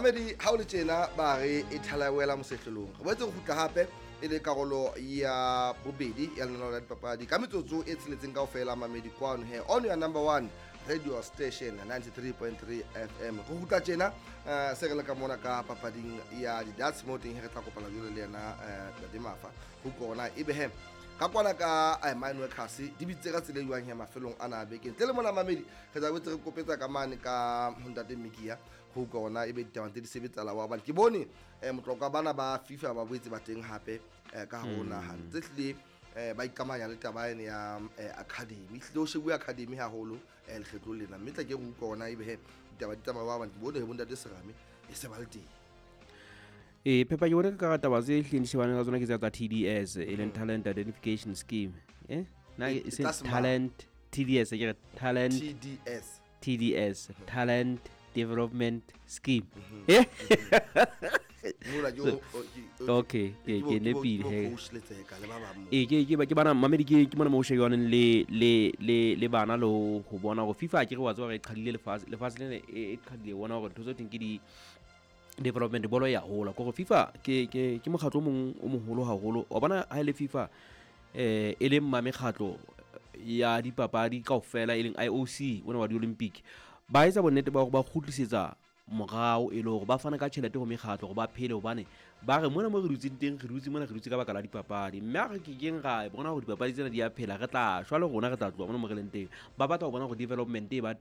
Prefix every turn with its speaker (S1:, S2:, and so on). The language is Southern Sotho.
S1: Mamedi, ha o le tjena ba re e thala wela mosehlelong. Re boetse re kgutla hape e le karolo ya bobedi ya lenaneo la dipapadi ka metsotso e tsheletseng kaofela. Mamedi, kwano he on your number one radio station, 93.3 FM. Re kgutla tjena, se re le ka mona ka papading ya di-darts, mo teng he re tla kopana jalo le yena Ntate Mafa ho kona ebe he ka kwana ka mine workers di bitse ka tsela e jwang he mafelong ana a beke. Ntle le mona, mamedi, re tla boetse re kopetsa ka mane ka ho ntate Mikia ho utlwa ona ebe ditaba tse di sebetsala wa, hobane ke bone motlokwa bana ba FIFA ba boetse ba teng hape ka hare ho naha, tse hlile ba ikamanya le taba ene ya academy. Hlile o shebuwe academy haholo lekgetlong lena, mme tla ke re utlwa ona ebe he ditaba di tsamaya, hobane ke bone he bontate Serame e se ba le teng.
S2: Ee, phepa, ke bone ka taba tse hlileng di shebane ka tsona ke tsa TDS, e leng Talent Identification Scheme, na
S1: E
S2: e seng
S1: tlase
S2: talent TDS, ke re talent
S1: TDS.
S2: TDS, Talent Development Scheme, eh.
S1: Mola ke
S2: Okay, ke nepile
S1: ke bo
S2: he.
S1: Coach Letseka le ba bang mo.
S2: Ee, ke bana, mamedi, ke mona mo o shebaneng le bana le ho bona hore FIFA, ke re wa tseba hore e qhadile lefatshe lena, e qhadile bona hore ntho tse teng ke di development, bolo ya hola kore FIFA ke mokgatlo o mong o moholo haholo wa bona. Ha e le FIFA, e leng ma mekgatlo ya dipapadi kaofela, e leng IOC ona wa di-Olympic, ba etsa bonnete ba hore ba kgutlisetsa morao, e le hore ba fana ka tjhelete ho mekgatlo hore ba phele, hobane ba re mona mo re dutseng teng, re dutse mona, re dutse ka baka la dipapadi, mme ha re kekeng ra bona hore dipapadi tsena di a phela, re tla shwa le rona, re tla tloha mona mo re leng teng. Ba batla ho bona hore development e ba teng.